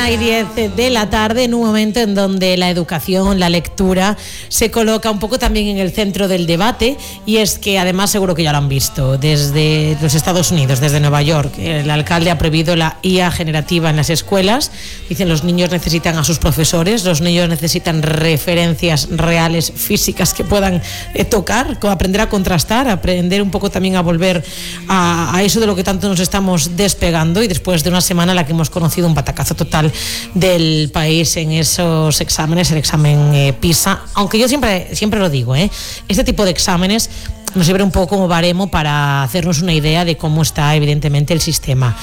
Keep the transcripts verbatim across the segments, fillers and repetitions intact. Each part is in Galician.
una y diez de la tarde, en un momento en donde la educación, la lectura, se coloca un poco también en el centro del debate, y es que además seguro que ya lo han visto, desde los Estados Unidos, desde Nueva York, el alcalde ha prohibido la I A generativa en las escuelas. Dicen los niños necesitan a sus profesores, los niños necesitan referencias reales, físicas, que puedan eh, tocar, aprender a contrastar, aprender un poco también a volver a, a eso de lo que tanto nos estamos despegando, y después de una semana en la que hemos conocido un batacazo total del país en esos exámenes, el examen eh, PISA, aunque yo siempre, siempre lo digo, ¿eh? Este tipo de exámenes nos sirve un poco como baremo para hacernos una idea de cómo está evidentemente el sistema.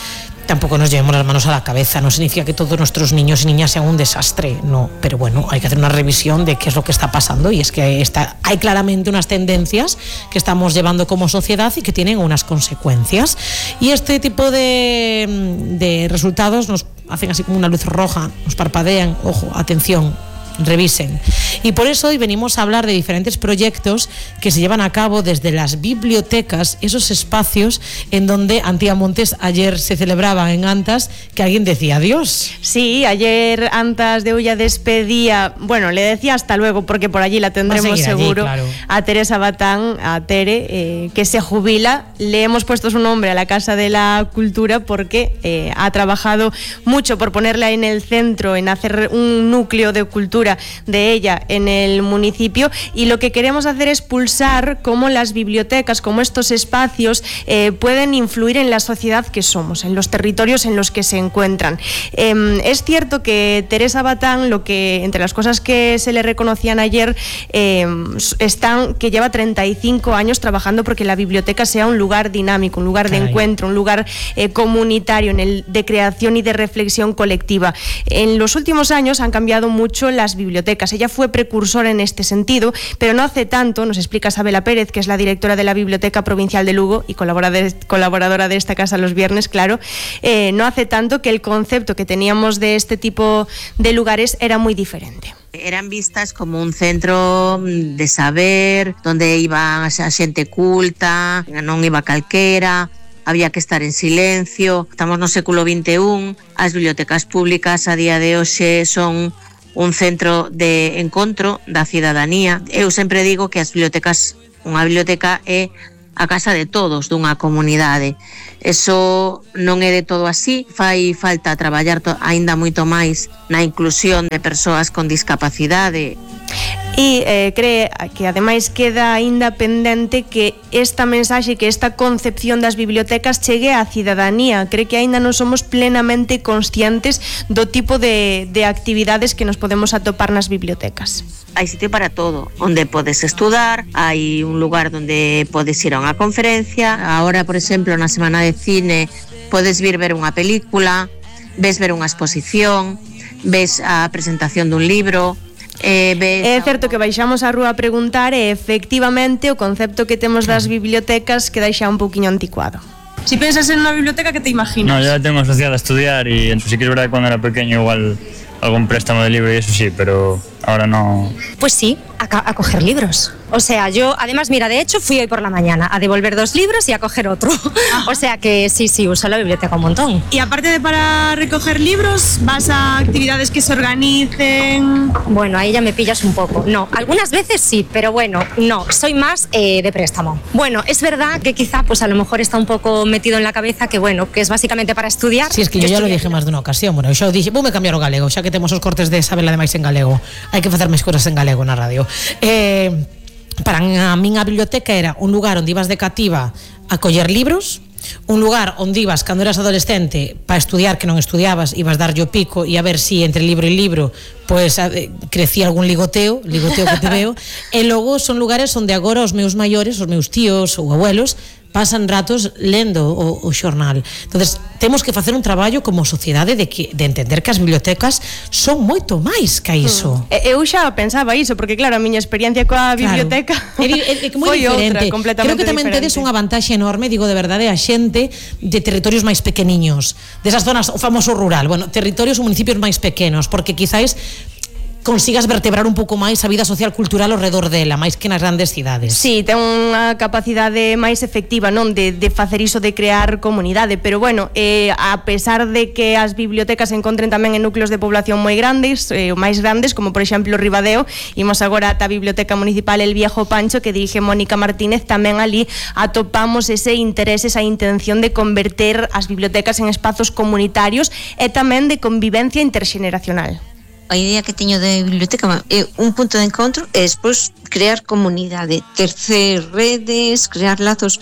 Tampoco nos llevemos las manos a la cabeza, no significa que todos nuestros niños y niñas sean un desastre, no, pero bueno, hay que hacer una revisión de qué es lo que está pasando, y es que está, hay claramente unas tendencias que estamos llevando como sociedad y que tienen unas consecuencias, y este tipo de, de resultados nos hacen así como una luz roja, nos parpadean, ojo, atención, revisen. Y por eso hoy venimos a hablar de diferentes proyectos que se llevan a cabo desde las bibliotecas, esos espacios en donde, Antía Montes, ayer se celebraban en Antas que alguien decía adiós. Sí, ayer Antas de Ulla despedía, bueno, le decía hasta luego, porque por allí la tendremos seguro, allí, claro, a Teresa Batán, a Tere, eh, que se jubila. Le hemos puesto su nombre a la Casa de la Cultura porque eh, ha trabajado mucho por ponerla en el centro, en hacer un núcleo de cultura de ella en el municipio, y lo que queremos hacer es pulsar cómo las bibliotecas, cómo estos espacios eh, pueden influir en la sociedad que somos, en los territorios en los que se encuentran. Eh, es cierto que Teresa Batán, lo que entre las cosas que se le reconocían ayer, eh, están que lleva treinta y cinco años trabajando porque la biblioteca sea un lugar dinámico, un lugar de Ay. encuentro, un lugar eh, comunitario, en el de creación y de reflexión colectiva. En los últimos años han cambiado mucho las bibliotecas. Ella fue precursora en este sentido, pero no hace tanto, nos explica Sabela Pérez, que es la directora de la Biblioteca Provincial de Lugo y colaboradora de esta casa los viernes, claro, eh, no hace tanto que el concepto que teníamos de este tipo de lugares era muy diferente. Eran vistas como un centro de saber, donde iba a xente culta, non iba calquera, había que estar en silencio. Estamos no século vinte e un, as bibliotecas públicas a día de hoxe son un centro de encontro da cidadanía. Eu sempre digo que as bibliotecas, unha biblioteca é a casa de todos dunha comunidade. Eso non é de todo así, fai falta traballar to- aínda moito máis na inclusión de persoas con discapacidade. E eh, cree que ademais queda aínda pendente que esta mensaxe, que esta concepción das bibliotecas chegue á cidadanía. Cree que aínda non somos plenamente conscientes do tipo de, de actividades que nos podemos atopar nas bibliotecas. Hai sitio para todo, onde podes estudar, hai un lugar onde podes ir a unha conferencia. Ahora, por exemplo, na semana de cine podes vir ver unha película, ves ver unha exposición, ves a presentación dun libro. Eh, ves... É certo que baixamos a rúa a preguntar e efectivamente o concepto que temos das bibliotecas queda xa un pouquiño anticuado. Si piensas en unha biblioteca, que te imaginas? No, yo la tengo asociada a estudiar, y sí que es verdad que cuando era pequeño igual algún préstamo de libro y eso sí, pero ahora no. Pues sí, a, a coger libros. O sea, yo, además, mira, de hecho fui hoy por la mañana a devolver dos libros y a coger otro. O sea que sí, sí, uso la biblioteca un montón. Y aparte de para recoger libros, ¿vas a actividades que se organicen? Bueno, ahí ya me pillas un poco. No, algunas veces sí, pero bueno, no, soy más eh, de préstamo. Bueno, es verdad que quizá, pues a lo mejor está un poco metido en la cabeza que, bueno, que es básicamente para estudiar. Sí, es que yo ya lo dije más de una ocasión. Bueno, yo dije, vou me cambiar o galego, xa que temos os cortes de Sabela ademais en galego. Hai que facer máis cousas en galego na radio. Eh... Para a min a biblioteca era un lugar onde ibas de cativa a coller libros, un lugar onde ibas cando eras adolescente para estudiar, que non estudiabas, ibas darlle o pico e a ver si entre libro e libro pues crecía algún ligoteo, ligoteo que te veo, e logo son lugares onde agora os meus maiores, os meus tíos ou abuelos pasan ratos lendo o, o xornal. Entonces, temos que facer un traballo como sociedade de, que, de entender que as bibliotecas son moito máis que iso. Mm. Eu xa pensaba iso, porque claro, a miña experiencia coa biblioteca claro. é, é, é moi diferente. Outra, creo que tamén diferente. tedes unha vantaxe enorme, digo de verdade, a xente de territorios máis pequeniños, desas zonas, o famoso rural, bueno, territorios ou municipios máis pequenos, porque quizáis consigas vertebrar un pouco máis a vida social cultural ao redor dela, máis que nas grandes cidades. Sí, ten unha capacidade máis efectiva, non, de, de facer iso de crear comunidade, pero bueno, eh, a pesar de que as bibliotecas se encontren tamén en núcleos de población moi grandes, eh, máis grandes, como por exemplo Ribadeo, imos agora ata a Biblioteca Municipal El Viejo Pancho, que dirige Mónica Martínez, tamén ali atopamos ese interés, esa intención de converter as bibliotecas en espazos comunitarios e tamén de convivencia interxeneracional. A idea que teño de biblioteca é un punto de encontro e despois crear comunidade, tercer redes, crear lazos.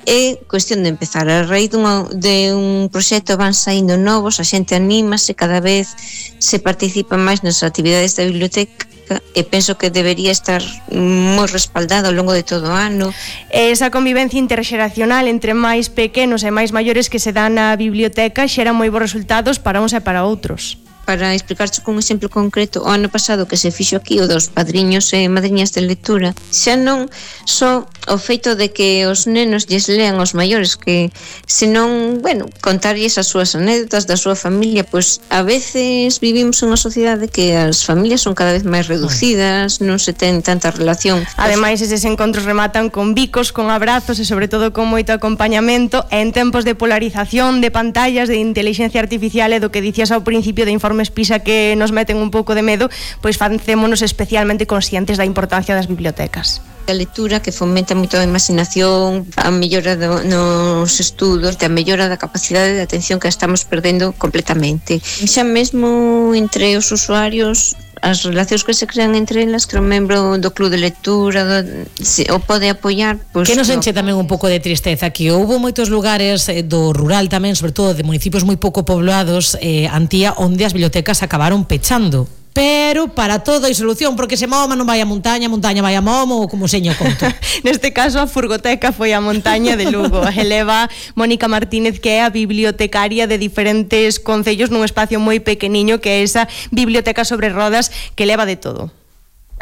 É cuestión de empezar. A raíz dunha, de un proxecto van saindo novos, a xente anímase, cada vez se participa máis nas actividades da biblioteca e penso que debería estar moi respaldada ao longo de todo o ano. Esa convivencia interxeracional entre máis pequenos e máis maiores que se dan na biblioteca xera moi bons resultados para uns e para outros. Para explicarche con un exemplo concreto, o ano pasado que se fixo aquí o dos padriños e madriñas de lectura, xa non só o feito de que os nenos lles lean aos maiores, que senón, bueno, contarlles as súas anécdotas da súa familia, pois a veces vivimos unha sociedade que as familias son cada vez máis reducidas, non se ten tanta relación. Ademais, eses encontros rematan con bicos, con abrazos e sobre todo con moito acompañamento, e en tempos de polarización, de pantallas, de inteligencia artificial e do que dicías ao principio de informes PISA que nos meten un pouco de medo, pois facémonos especialmente conscientes da importancia das bibliotecas. A lectura que fomenta moito a imaginación, a mellora do, nos estudos, a mellora da capacidade de atención que estamos perdendo completamente. Xa mesmo entre os usuarios, as relacións que se crean entre elas, que un membro do club de lectura do, se, o pode apoiar, pois, que nos enche no. tamén un pouco de tristeza, que houve moitos lugares eh, do rural tamén, sobre todo de municipios moi pouco poblados, eh, Antía, onde as bibliotecas acabaron pechando. Pero para todo hai solución, porque se Moma non vai a montaña, montaña vai a Momo, ou como seño conto. Neste caso a furgoteca foi a montaña de Lugo. Eleva Mónica Martínez, que é a bibliotecaria de diferentes concellos nun espacio moi pequeniño, que é esa biblioteca sobre rodas que leva de todo.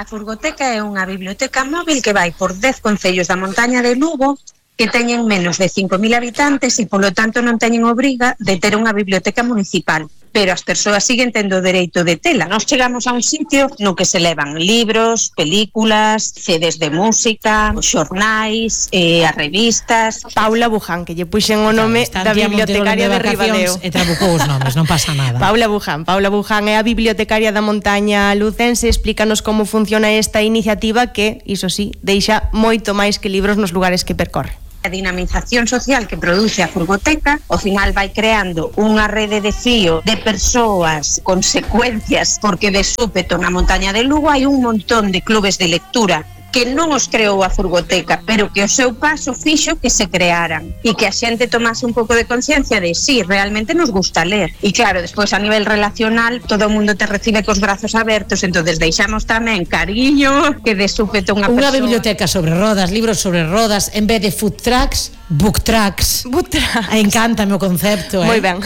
A furgoteca é unha biblioteca móvil que vai por dez concellos da montaña de Lugo, que teñen menos de cinco mil habitantes e, polo tanto, non teñen obriga de ter unha biblioteca municipal. Pero as persoas siguen tendo o dereito de tela. Nos chegamos a un sitio no que se levan libros, películas, C Ds de música, os xornais, eh, as revistas. Paula Buján, que lle puxen o nome da bibliotecaria de, de Ribadeo. E trabucou os nomes, non pasa nada. Paula Buján, Paula Buján é a bibliotecaria da montaña lucense. Explícanos como funciona esta iniciativa que, iso sí, deixa moito máis que libros nos lugares que percorre. A dinamización social que produce a furgoteca ao final vai creando unha rede de fío de persoas, consecuencias, porque de súpeto na montaña de Lugo hai un montón de clubes de lectura que non os creou a furgoteca, pero que o seu paso fixo que se crearan e que a xente tomase un pouco de conciencia de sí, realmente nos gusta ler. E claro, despois a nivel relacional todo o mundo te recibe cos brazos abertos, entonces deixamos tamén cariño que de súpeto unha Unha persoa... biblioteca sobre rodas, libros sobre rodas, en vez de food trucks, book trucks. Book trucks. Encántame o concepto, eh? Moi ben.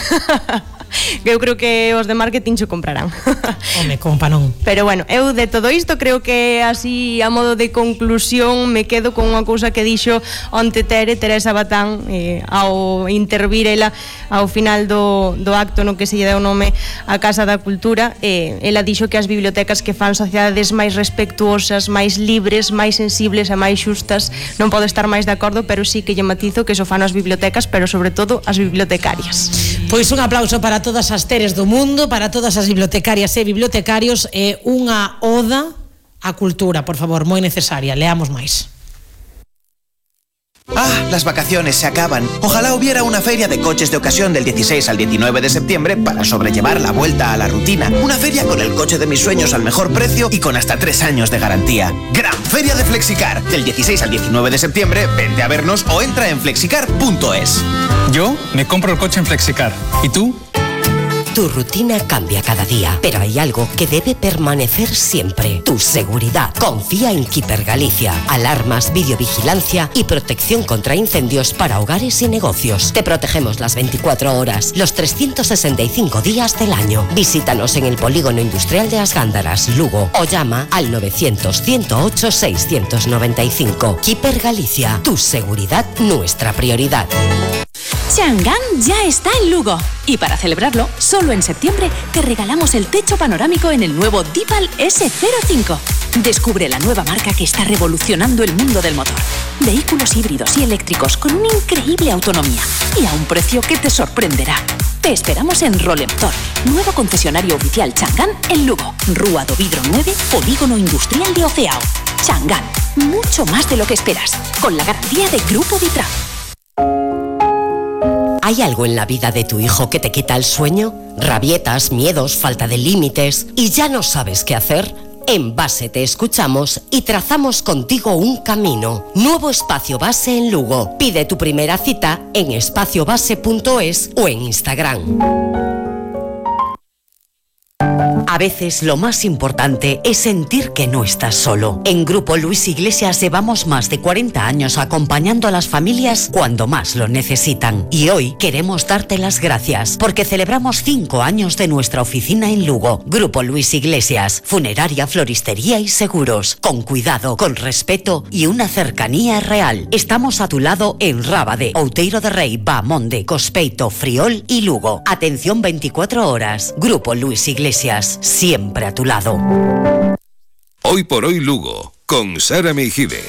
Eu creo que os de marketing xo comprarán. Home, compa non. Pero bueno, eu de todo isto creo que así a modo de conclusión me quedo con unha cousa que dixo onte Tere, Teresa Batán, eh, ao intervir ela ao final do, do acto no que se lle deu nome a Casa da Cultura. Eh, ela dixo que as bibliotecas que fan sociedades máis respectuosas, máis libres, máis sensibles e máis xustas, non podo estar máis de acordo, pero sí que lle matizo que iso fan as bibliotecas, pero sobre todo as bibliotecarias. Pois un aplauso para todas as Teres do mundo, para todas as bibliotecarias e bibliotecarios, e unha oda á cultura, por favor, moi necesaria. Leamos máis. Ah, las vacaciones se acaban. Ojalá hubiera una feria de coches de ocasión del dieciséis al diecinueve de septiembre para sobrellevar la vuelta a la rutina. Una feria con el coche de mis sueños al mejor precio y con hasta tres años de garantía. Gran Feria de Flexicar. Del dieciséis al diecinueve de septiembre, vente a vernos o entra en flexicar punto es. Yo me compro el coche en Flexicar. ¿Y tú? Tu rutina cambia cada día, pero hay algo que debe permanecer siempre: tu seguridad. Confía en Keeper Galicia. Alarmas, videovigilancia y protección contra incendios para hogares y negocios. Te protegemos las veinticuatro horas, los trescientos sesenta y cinco días del año. Visítanos en el Polígono Industrial de As Gándaras, Lugo, o llama al novecientos, ciento ocho, seiscientos noventa y cinco. Keeper Galicia. Tu seguridad, nuestra prioridad. Si Chang'an ya está en Lugo. Y para celebrarlo, solo en septiembre te regalamos el techo panorámico en el nuevo Dipal ese cero cinco. Descubre la nueva marca que está revolucionando el mundo del motor. Vehículos híbridos y eléctricos con una increíble autonomía y a un precio que te sorprenderá. Te esperamos en Rolemtor, nuevo concesionario oficial Chang'an en Lugo. Rúa do Vidro nueve, Polígono Industrial de Oceao. Chang'an, mucho más de lo que esperas, con la garantía de Grupo Vitra. ¿Hay algo en la vida de tu hijo que te quita el sueño? ¿Rabietas, miedos, falta de límites y ya no sabes qué hacer? En Base te escuchamos y trazamos contigo un camino. Nuevo espacio Base en Lugo. Pide tu primera cita en espacio base punto es o en Instagram. A veces lo más importante es sentir que no estás solo. En Grupo Luis Iglesias llevamos más de cuarenta años acompañando a las familias cuando más lo necesitan. Y hoy queremos darte las gracias porque celebramos cinco años de nuestra oficina en Lugo. Grupo Luis Iglesias, funeraria, floristería y seguros. Con cuidado, con respeto y una cercanía real. Estamos a tu lado en Rábade, Outeiro de Rei, Bahamonde, Cospeito, Friol y Lugo. Atención veinticuatro horas. Grupo Luis Iglesias. Siempre a tu lado. Hoy por hoy Lugo, con Sara Meijide.